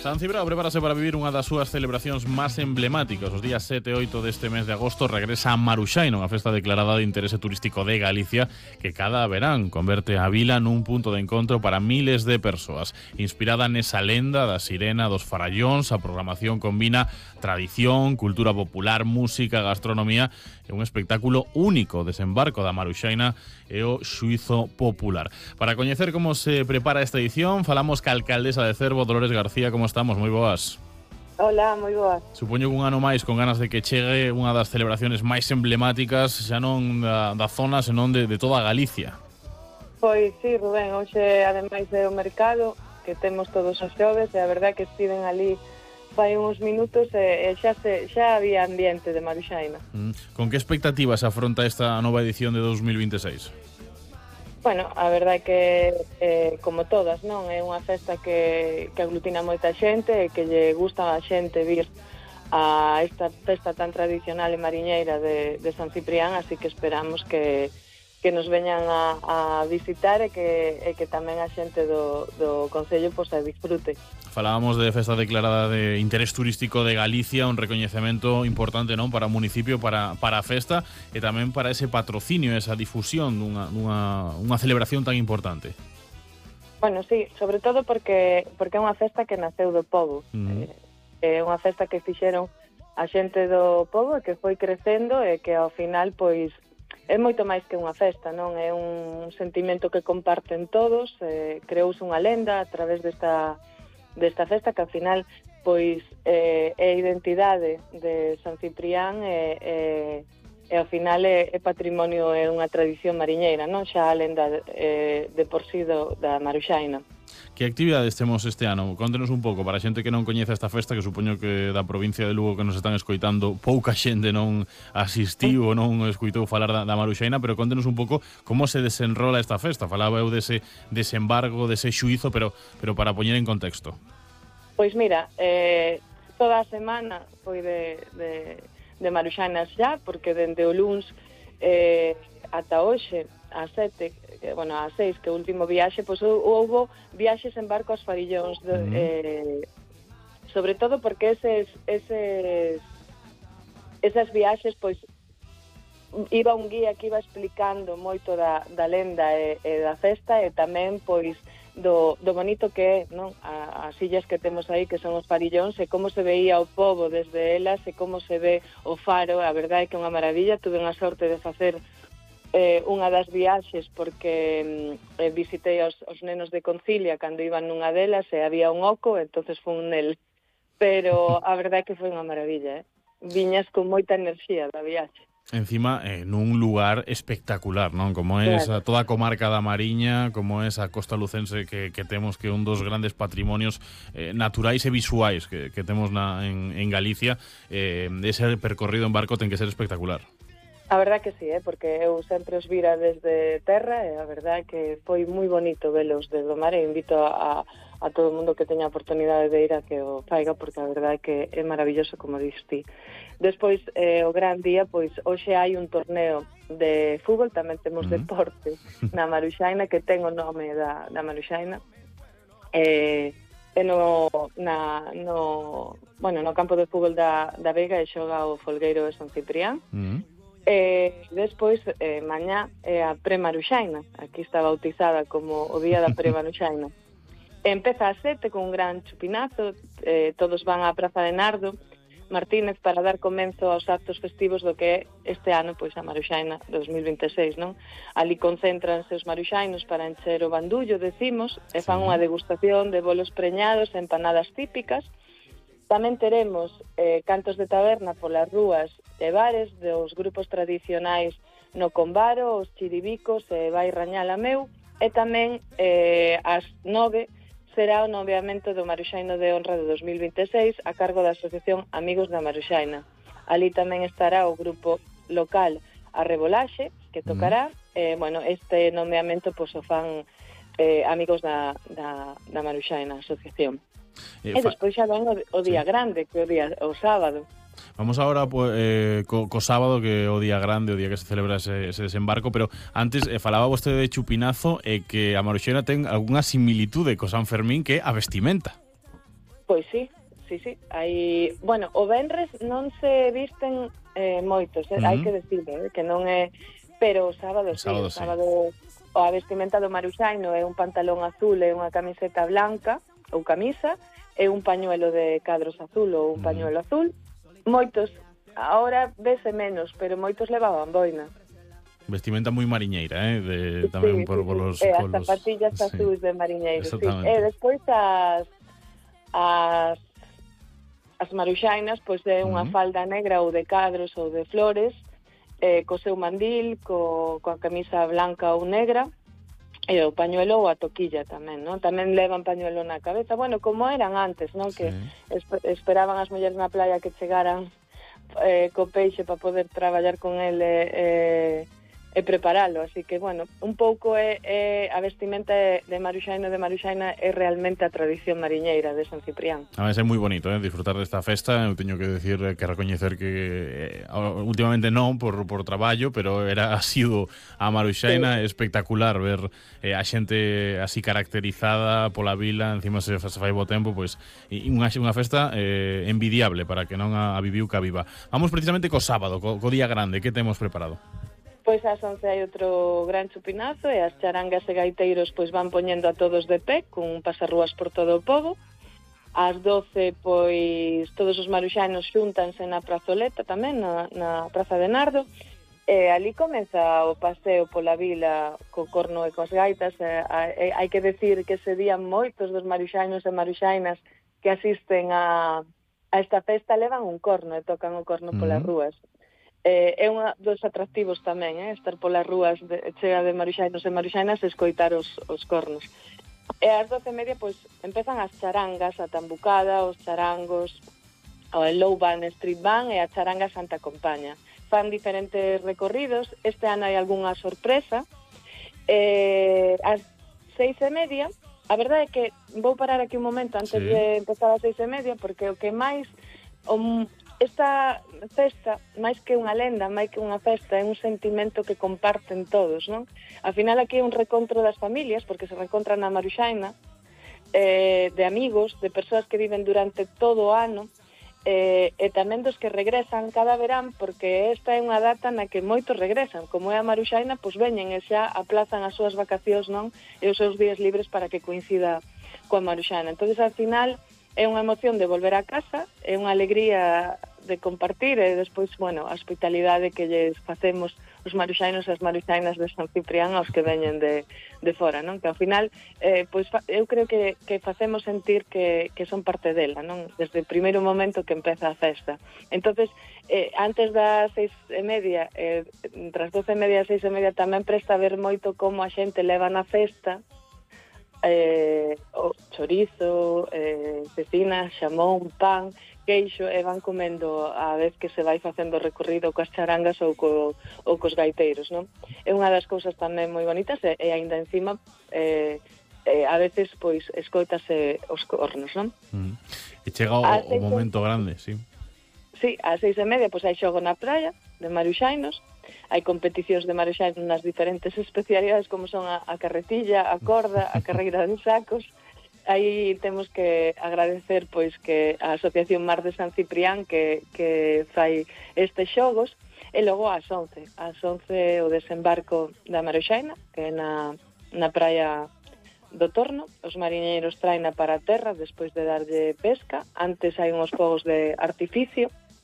San Cibrao prepárase para vivir unha das súas celebracións máis emblemáticas. Os días 7 e 8 deste mes de agosto regresa a Maruxaina, unha festa declarada de interese turístico de Galicia que cada verán converte a vila nun punto de encontro para miles de persoas. Inspirada nesa lenda da sirena dos farallóns, a programación combina tradición, cultura popular, música, gastronomía e un espectáculo único. Desembarco da Maruxaina e o xuízo popular. Para coñecer como se prepara esta edición, falamos ca alcaldesa de Cervo, Dolores García. Como estamos? Moi boas. Hola, moi boas. Supoño que un ano máis con ganas de que chegue unha das celebraciones máis emblemáticas xa non da zona, senón de toda Galicia. Pois sí, Rubén, hoxe ademais é o mercado que temos todos os xoves e a verdade que estiven ali fai uns minutos e xa había ambiente de Maruxaina. Con que expectativas afronta esta nova edición de 2026? Bueno, a verdade que como todas, non? É unha festa que aglutina moita xente e que lle gusta a xente vir a esta festa tan tradicional e mariñeira de San Ciprián, así que esperamos que nos veñan a visitar e que tamén a xente do Concello pois a disfrute. Falábamos de festa declarada de interés turístico de Galicia, un recoñecemento importante, non, para o municipio, para a festa e tamén para ese patrocinio, esa difusión dunha celebración tan importante. Bueno, sí, sobre todo porque é unha festa que naceu do pobo. É unha festa que fixeron a xente do pobo e que foi crecendo e que ao final, pois, é moito máis que unha festa, non? É un sentimento que comparten todos, creouse unha lenda a través desta festa que ao final pois é a identidade de San Ciprián e ao final é patrimonio, é unha tradición mariñeira, non? Xa a lenda de por sí da Maruxaina. Que actividades temos este ano? Contenos un pouco, para a xente que non coñece esta festa, que supoño que da provincia de Lugo que nos están escoitando, pouca xente non asistiu ou non escoitou falar da Maruxaina, pero contenos un pouco como se desenrola esta festa. Falaba eu dese desembargo, dese xuízo, pero para poñer en contexto. Pois mira, toda a semana foi de Maruxainas xa, porque dende o luns ata hoxe, a 7, bueno, a 6, que é o último viaxe, pois houbo viaxes en barco aos farillóns, sobre todo porque esas viaxes, pois, iba un guía que iba explicando moito da lenda e da festa e tamén, pois, do bonito que é, non? As illas que temos aí, que son os farillóns, e como se veía o pobo desde elas e como se ve o faro. A verdade é que é unha maravilla. Tuve a sorte de facer unha das viaxes porque visitei os nenos de Concilia cando iban nunha delas e había un oco, entonces fun nel. Pero a verdade é que foi unha maravilla, viñas con moita enerxía da viaxe. Encima, nun lugar espectacular, non? Como é toda a comarca da Mariña, como é esa costa lucense que temos, que é un dos grandes patrimonios naturais e visuais que temos en Galicia. Ese percorrido en barco ten que ser espectacular. A verdade que sí, porque eu sempre os vira desde terra e a verdade que foi moi bonito velos desde o mar e invito a todo o mundo que teña a oportunidade de ir a que o faiga, porque a verdade que é maravilloso, como dixes ti. Despois, o gran día, pois hoxe hai un torneo de fútbol, tamén temos deporte na Maruxaina, que ten o nome da Maruxaina, no campo de fútbol da Vega e xoga o Folgueiro de San Ciprián. Despois, mañá é a Pre-Maruxaina, aquí está bautizada como o día da Pre-Maruxaina. Empeza a 7 con un gran chupinazo, todos van á Praza de Nardo Martínez para dar comenzo aos actos festivos do que é este ano, pois a Maruxaina 2026, non? Ali concéntranse os maruxainos para encher o bandullo, decimos, e fan unha degustación de bolos preñados e empanadas típicas. Tamén teremos cantos de taberna polas rúas e bares dos grupos tradicionais no Combaro, os Chiribicos e Vai Rañal a Meu, e tamén ás 9 será o nomeamento do Maruxaino de Honra de 2026 a cargo da Asociación Amigos da Maruxaina. Ali tamén estará o grupo local A Rebolaxe, que tocará. Este nomeamento pois o fan amigos da Maruxaina, Asociación. E despois xa ven o día grande, que é o sábado. Vamos agora co sábado, que é o día grande, o día que se celebra ese desembarco, pero antes falaba vostede de chupinazo e que a Maruxaina ten algunha similitude co San Fermín, que é a vestimenta. Pois sí. Hai, bueno, o venres non se visten moitos, hai que decirlo, que non é, pero o sábado sí, o sábado a vestimenta do maruxaino é un pantalón azul e unha camiseta blanca ou camisa e un pañuelo de cadros azul ou un pañuelo azul. Moitos, agora vese menos, pero moitos levaban boina. Vestimenta moi mariñeira, tamén por los... As zapatillas azuis de mariñeiro, sí. E despois as maruxainas, pois é unha falda negra ou de cadros ou de flores, co seu mandil, coa camisa blanca ou negra, e o pañuelo ou a toquilla tamén, non? Tamén levan pañuelo na cabeza, bueno, como eran antes, non? Que esperaban as mulleres na playa que chegaran co peixe para poder traballar con ele e preparalo, así que, bueno, un pouco a vestimenta de maruxaino de maruxaina é realmente a tradición mariñeira de San Ciprián. A veces é moi bonito, disfrutar desta festa. Eu teño que decir, que recoñecer que últimamente non por traballo, pero era asiduo a maruxaina, espectacular ver a xente así caracterizada pola vila, encima se fai bo tempo, pois unha festa envidiable para que non a viviu que a viva. Vamos precisamente co sábado, co día grande, que temos preparado? Pois ás 11 hai outro gran chupinazo e as charangas e gaiteiros pois van poñendo a todos de pé cun pasarrúas por todo o pobo. Ás 12 pois todos os maruxanos xúntanse na prazoleta tamén, na Praza de Nardo, e ali comeza o paseo pola vila co corno e coas gaitas. Hai que decir que ese día moitos dos maruxainos e maruxainas que asisten a esta festa levan un corno e tocan o corno polas rúas. É un dos atractivos tamén, estar polas rúas chea de maruxainos e maruxainas e escoitar os cornos. E ás 12:30 pois empezan as charangas, a tambucada, os charangos, o low band, street band e a charanga Santa Compaña. Fan diferentes recorridos, este ano hai algunha sorpresa. Ás 6:30, a verdade é que vou parar aquí un momento antes de empezar ás 6:30, porque o que máis... Esta festa, máis que unha lenda, máis que unha festa, é un sentimento que comparten todos, non? Ao final aquí é un recontro das familias, porque se reencontran na Maruxaina, de amigos, de persoas que viven durante todo o ano, e tamén dos que regresan cada verán, porque esta é unha data na que moitos regresan. Como é a Maruxaina, pois veñen e xa aplazan as súas vacacións, non? E os seus días libres para que coincida coa Maruxaina. Entón, ao final, é unha emoción de volver a casa, é unha alegría de compartir e despois, bueno, a hospitalidade que lles facemos os maruxainos e as maruxainas de San Ciprián aos que veñen de fora, non? Que ao final, pois eu creo que facemos sentir que son parte dela, non? Desde o primeiro momento que empeza a festa. Entonces, antes das 6:30, entre as 12:30 e 6:30 tamén presta a ver moito como a xente leva na festa o chorizo, cecinas, xamón, pan, queixo, e van comendo a vez que se vai facendo o recorrido coas charangas ou cos gaiteiros, non? É unha das cousas tamén moi bonitas e aínda encima a veces pois escoitase os cornos, non? E chega o momento grande, sí. Sí, ás 6:30 pois hai xogo na praia de maruxainos. Hai competicións de maruxainos nas diferentes especialidades como son a carretilla, a corda, a carreira de sacos. Aí temos que agradecer pois que a Asociación Mar de San Ciprián que fai estes xogos. E logo ás 11 o desembarco da Maruxaina, que é na praia do Torno. Os mariñeiros traena para a terra despois de darlle pesca. Antes hai uns fogos de artificio